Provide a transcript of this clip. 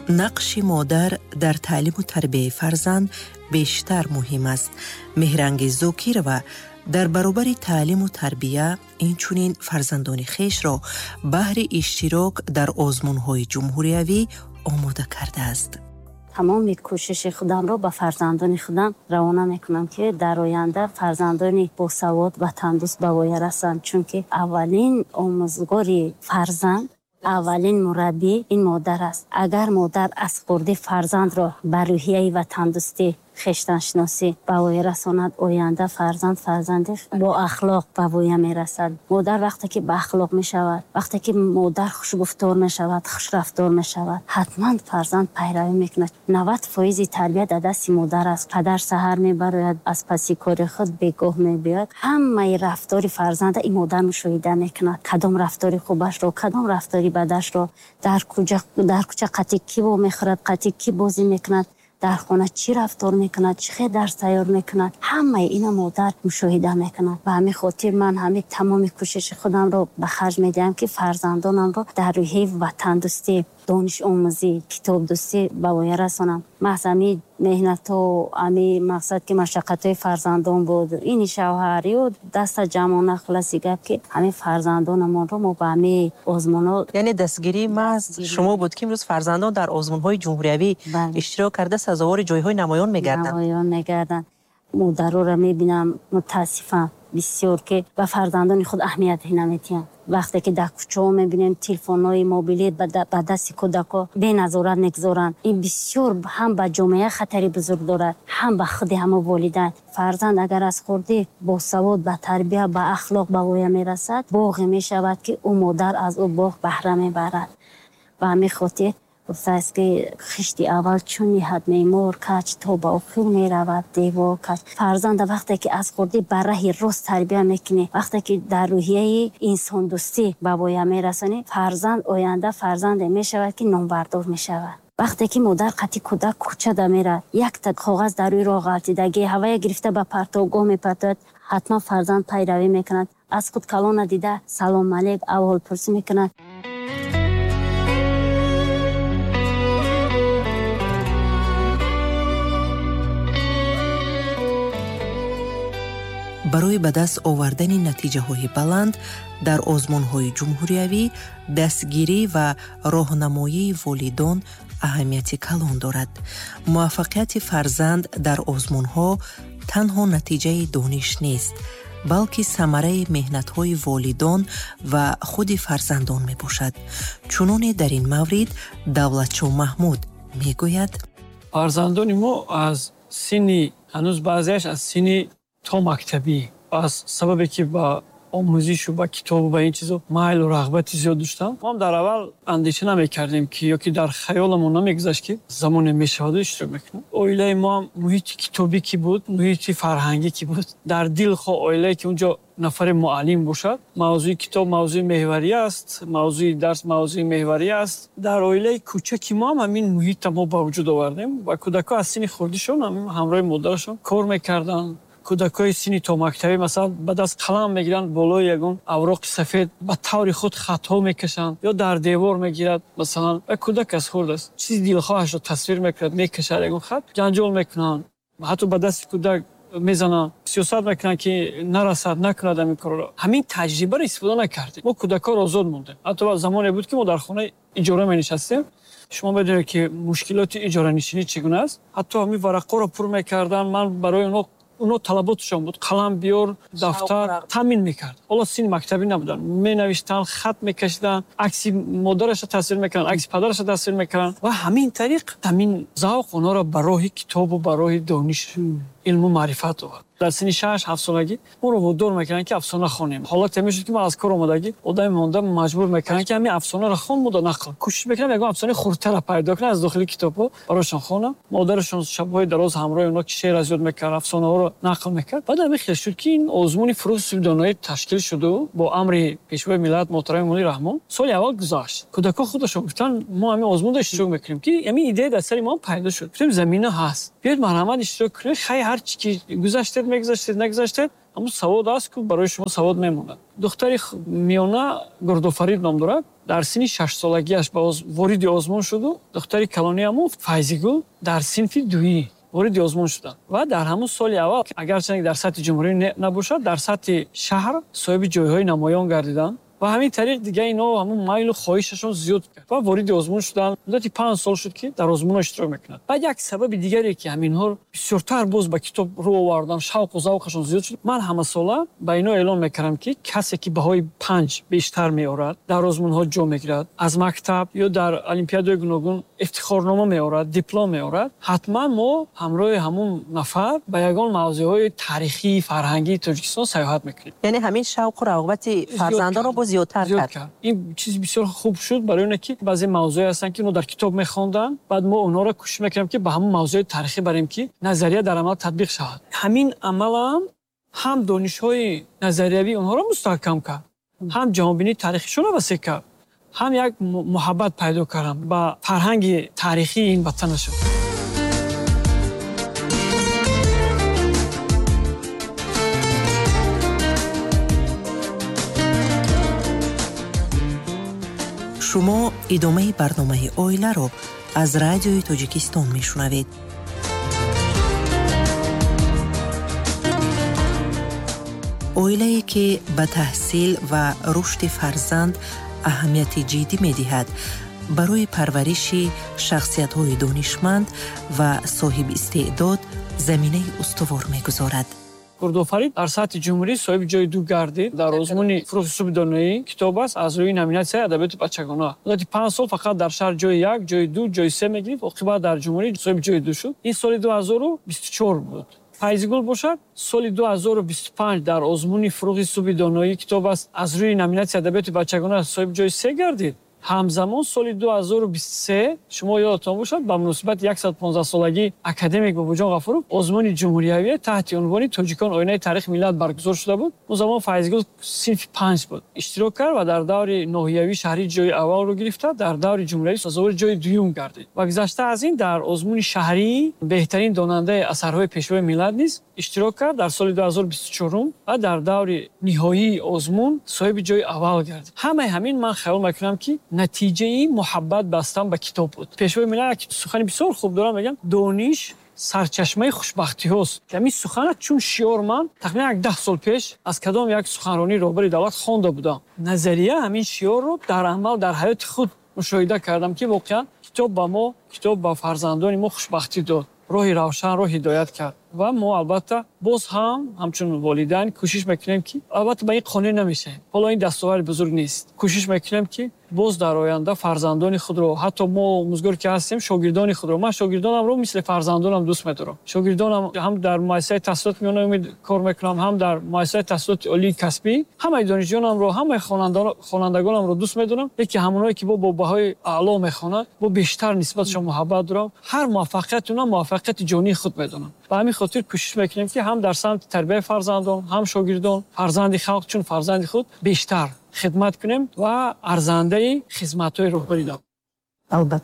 Нақши модар дар таълиму тарбияи фарзанд бештар муҳим аст. Меҳрангез Зокирова дар баробари таълиму тарбия инчунин фарзандони хешро баҳри иштирок дар озмунҳои ҷумҳуриявӣ омода кардааст. Тамоми кӯшиши худамро ба фарзандони худам равона мекунам, ки дар оянда фарзандони босавод, ватандӯст ба воя расанд, чунки аввалин омӯзгори фарзанд, аввалин мураббӣ ин модар аст. Агар модар аз хурдӣ фарзандро ба рӯҳияи ватандӯстӣ, хештаншиносӣ ба воя расонад, оянда фарзанд фарзанди бо ахлоқ ба воя мерасад. Модар вақте ки ба ахлоқ мешавад, вақте ки модар хушгуфтор мешавад, хушрафтор мешавад, ҳатман фарзанд пайравӣ мекунад. 90% тарбия дар дасти модар аст. Падар саҳар мебарояд, аз паси кори худ бегоҳ мебиёяд. Ҳамаи рафтори фарзанда ин модар мушоҳида мекунад. Кадом рафтори хубашро, кадом рафтори бадашро, дар кӯча қатъи кӣ вомехӯрад, қатъи кӣ бозӣ мекунад, дар хона чӣ рафтор мекунад, чӣ хел дарс тайёр мекунад, ҳамаи ина модар мушоҳида мекунад. Ба ҳамин хотир ман ҳамин тамоми кӯшиши худамро ба харҷ медиҳам, ки фарзандонамро дар рӯҳияи ватандӯстӣ, донишомӯзӣ, китобдӯстӣ ба воя расонам. Маҳз ҳамин меҳнатҳо, ҳамин мақсад ки машаққатҳои фарзандон буд, ини шавҳар ё даста ҷамъона, хулоси гап ки ҳамин фарзандонамонро мо ба ҳамин озмунҳо. Яъне дастгирии маҳз шумо буд, ки имрӯз фарзандон дар озмунҳои ҷумҳуриявӣ иштирок карда сазовори ҷойҳои намоён мегарданд. Намоён мегарданд. Модароро мебинам, мутаассифам бисёр, ки ба фарзандони худ аҳамият намедиҳанд. Вақте ки дар кӯчаҳо мебинем телефонҳои мобилӣ ба дасти кӯдакҳо беназорат мегузоранд, ин бисёр ҳам ба ҷомеа хатари бузург дорад, ҳам ба худи ҳама волидайн. Фарзанд агар аз хурдӣ босавод, ба тарбия, ба ахлоқ ба воя мерасад, боғе мешавад, ки ӯ модар аз ӯ боғ баҳра мебарад. Ба ҳамин хотир гуфтааст, ки хишти аввал чун ниҳад меъмор кач, то ба охир меравад девор кач. Фарзанда вақте ки аз хурдӣ ба раҳи рост тарбия мекунӣ, вақте ки дар рӯҳияи инсондӯстӣ ба воя мерасонӣ, фарзанд оянда фарзанде мешавад, ки номбардор мешавад. Вақте ки модар қатъи кӯдак кӯчада меравад, якта коғаз дар рӯи роҳ ғалтидагӣ ҳавая гирифта ба партовгоҳ мепартояд, ҳатман фарзанд пайравӣ мекунад. Аз худ калона дида салом алейк аҳволпурсӣ мекунад. Барои ба даст овардани натиҷаҳои баланд дар озмунҳои ҷумҳуриявӣ дастгирӣ ва роҳнамоии волидон аҳамияти калон дорад. Муваффақияти фарзанд дар озмунҳо танҳо натиҷаи дониш нест, балки самараи меҳнатҳои волидон ва худи фарзандон мебошад. Чуноне дар ин маврид Давлатшо Маҳмуд мегӯяд: фарзандони мо аз синни ҳанӯз баъзеаш аз синни то мактабӣ, аз сабабе ки ба омӯзишу ба китобу ба ин чизо майлу рағбати зиёд доштам, мо ҳам дар аввал андеша намекардем, ки ё ки дар хаёламон намегузашт, ки замоне мешаваду иштирок мекунам. Оилаи мо ҳам муҳити китобӣ ки буд, муҳити фарҳангӣ ки буд, дар дилхоҳ оилае ки унҷо нафаре муаллим бошад, мавзӯи китоб мавзӯи меҳварӣ аст, мавзӯи дарс мавзӯи меҳварӣ аст. Дар оилаи кӯчаки мо ҳам ҳамин муҳитро мо ба вуҷуд овардем ва кӯдакҳо аз синни хурдишон ҳамроҳи модарашон кор мекарданд. Кӯдакҳои синни томактабӣ масалан ба даст қалам мегиранд, болои ягон авроқи сафед ба таври худ хатҳо мекашанд ё дар девор мегирад. Масалан ва кӯдак аз хурд аст, чизи дилхоҳашро тасвир мекунад, мекашад ягон хат, ҷанҷол мекунанд, ҳатто ба дасти кӯдак мезананд, сиёсат мекунанд, ки нарасад, накунад ҳамин корро. Ҳамин таҷрибаро истифода накардем. Мо кӯдакҳоро озод мондем. Ҳатто замоне буд, ки мо дар хонаи иҷора менишастем. Шумо медонед, ки мушкилоти иҷоранишинӣ чӣ гуна аст. Ҳатто ҳамин варақҳоро пур мекарданд. Ман барои онҳо талаботшон буд, қалам биёр, дафтар таъмин мекард. Ҳоло синни мактабӣ набуданд, менавиштанд, хат мекашиданд, акси модарашро тасвир мекарданд, акси падарашро тасвир мекарданд ва ҳамин тариқ ҳамин завқ онҳоро ба роҳи китобу ба роҳи дониш, илму маърифат овард. Дар синни 6-7 солагӣ моро водор мекарданд, ки афсона хонем. Ҳолате мешуд, ки ман аз кор омадагӣ одами монда маҷбур мекарданд, ки ҳамин афсонаро хон, мода нақл. Кӯшиш мекардам ягон афсонаи хурдтарро пайдо кунам, аз дохили китобҳо барошон хонам. Модарашон шабҳои дароз ҳамроҳи онҳо ки шеър аз ёд мекард, афсонаҳоро нақл мекард. Баъд ҳамин хел шуд, ки ин озмуни фурӯғи доноӣ ташкил шуду бо амри пешвои миллат муҳтарами Эмомалӣ Раҳмон соли аввал гузашт. Кӯдакҳо худашон гуфтанд, мо ҳамин озмунро иштирок мекунем, ки ҳамин идея дар сари мо пайдо шуд. Гуфтем замина ҳаст, биёед марҳамат иштирок кунед, хай ҳар чӣ ки гузаштед мегузаштед, нагузаштед, ҳамун савод аст, ки барои шумо савод мемонад. Духтари миёна Гурдофарид ном дорад. Дар синни 6-солагиаш ба вориди озмун шуду духтари калониаму Файзигул дар синфи дуӣ вориди озмун шуданд. Ва дар ҳамун соли аввал, агарчанде дар сатҳи ҷумҳурӣ набошад, дар сатҳи шаҳр соҳиби ҷойҳои намоён гардиданд. Ва ҳамин тариқ дига ино ҳамун майлу хоҳишашон зиёд кард ва вориди озмун шуданд. Муддати 5 сол шуд, ки дар озмунҳо иштирок мекунанд. Баъд як сабаби дигаре, ки ҳаминҳо бисёртар боз ба китоб рӯ овардан, шавқу завқашон зиёд шуд, ман ҳамасола ба ино эълон мекардам, ки касе ки баҳои 5 бештар меорад, дар озмунҳо ҷо мегирад, аз мактаб ё дар олимпиадаҳои гуногун ифтихорнома меорад, диплом меорад, ҳатман мо ҳамроҳи ҳамун нафар ба ягон мавзӯъҳои таърихии фарҳангии Тоҷикистон сайёҳат мекунем. Яъне ҳамин шавқу рағбати фарзандонро боз зиёдтар кард. Ин чиз бисёр хуб шуд барои оне, ки баъзе мавзӯе ҳастанд, ки онҳо дар китоб мехонданд, баъд мо онҳоро кӯшиш мекардем, ки ба ҳамон мавзӯи таърихӣ барем, ки назария дар амал татбиқ шавад. Ҳамин амалам ҳам донишҳои назариявии онҳоро мустаҳкам кард, ҳам ҷаҳонбинии таърихишонро васеъ кард, ҳам як муҳаббат пайдо кардам ба фарҳанги таърихии ин ватанашон. Шумо идомаи барномаи оиларо аз радиои Тоҷикистон мешунавед. Оилае, ки ба таҳсил ва рушди фарзанд аҳамияти ҷиддӣ медиҳад, барои парвариши шахсиятҳои донишманд ва соҳибистеъдод заминаи устувор мегузорад. Гурдофарид дар сатҳи ҷумҳурӣ соҳиби ҷои 2 гардид дар озмуни фурӯғи субҳи доноӣ китоб аст аз рӯи номинатсияи адабиёти бачагона. Муддати 5 сол фақат дар шаҳр ҷои 1, ҷои 2, ҷои 3 мегирифт, оқибат дар ҷумҳурӣ соҳиби ҷои 2 шуд. Ин соли 2024 буд. Файзигул бошад, соли 2025 дар озмуни фурӯғи субҳи доноӣ китоб аст аз рӯи номинатсияи адабиёти бачагона соҳиби ҷои 3 гардид. Ҳамзамон соли 2023, шумо ёдатон бошад, ба муносибати 115-солагии академик Бобоҷон Ғафуров озмуни ҷумҳуриявӣ таҳти унвони Тоҷикон оинаи таърихи миллат баргузор шуда буд. Он замон Файзигул синфи 5 буд. Иштирок кард ва дар даври ноҳиявии шаҳрӣ ҷои аввалро гирифта, дар даври ҷумҳуриявӣ сазовори ҷои дуюм гардид. Ва гузашта аз ин дар озмуни шаҳрии беҳтарин донандаи асарҳои пешвои миллат низ иштирок кард дар соли 2024 ва дар даври ниҳоии озмун соҳиби ҷои аввал гардид. Ҳамаи ҳамин ман хаёл мекунам, ки натиҷаи муҳаббат бастан ба китоб буд. Пешвои миллат як сухани бисёр хуб дорам, мегӯям, дониш сарчашмаи хушбахтиҳост. Ҳамин сухана чун шиор ман тахминан 10 сол пеш аз кадом як суханронии роҳбари давлат хонда будам. Назария ҳамин шиорро дар амал дар ҳаёти худ мушоҳида кардам, ки воқеан китоб ба мо, китоб ба фарзандони мо хушбахтӣ дод, роҳи равшанро ҳидоят кард. Ва мо албатта боз ҳам ҳамчун волидайн кӯшиш мекунем, ки албатта ба ин қонеъ намешавем. Ҳоло ин дастоварди бузург нест. Кӯшиш мекунем, ки боз дар оянда фарзандони худро, ҳатто мо омӯзгор ки ҳастем, шогирдони худро, ман шогирдонамро мисли фарзандонам дӯст медорам. Шогирдонам ҳам дар муассисаи таҳсилоти миёна умед кор мекунам, ҳам дар муассисаи таҳсилоти олии касбӣ. Ҳамаи донишҷӯёнамро, ҳамаи хонандагонамро дӯст медорам, лекин ҳамонҳое ки бо баҳои аъло мехонанд, бо бештар нисбатшон муҳаббат дорам. Ҳар муваффақияти онҳо муваффақияти ҷонии худ медонам. Ба ҳамин хотир кӯшиш мекунем, ки ҳам дар самти тарбияи фарзандон, ҳам шогирдон, фарзанди халқ чун фарзанди худ бештар хидмат кунем ва арзандаи хизматҳои роҳбарӣ дам. Албатта.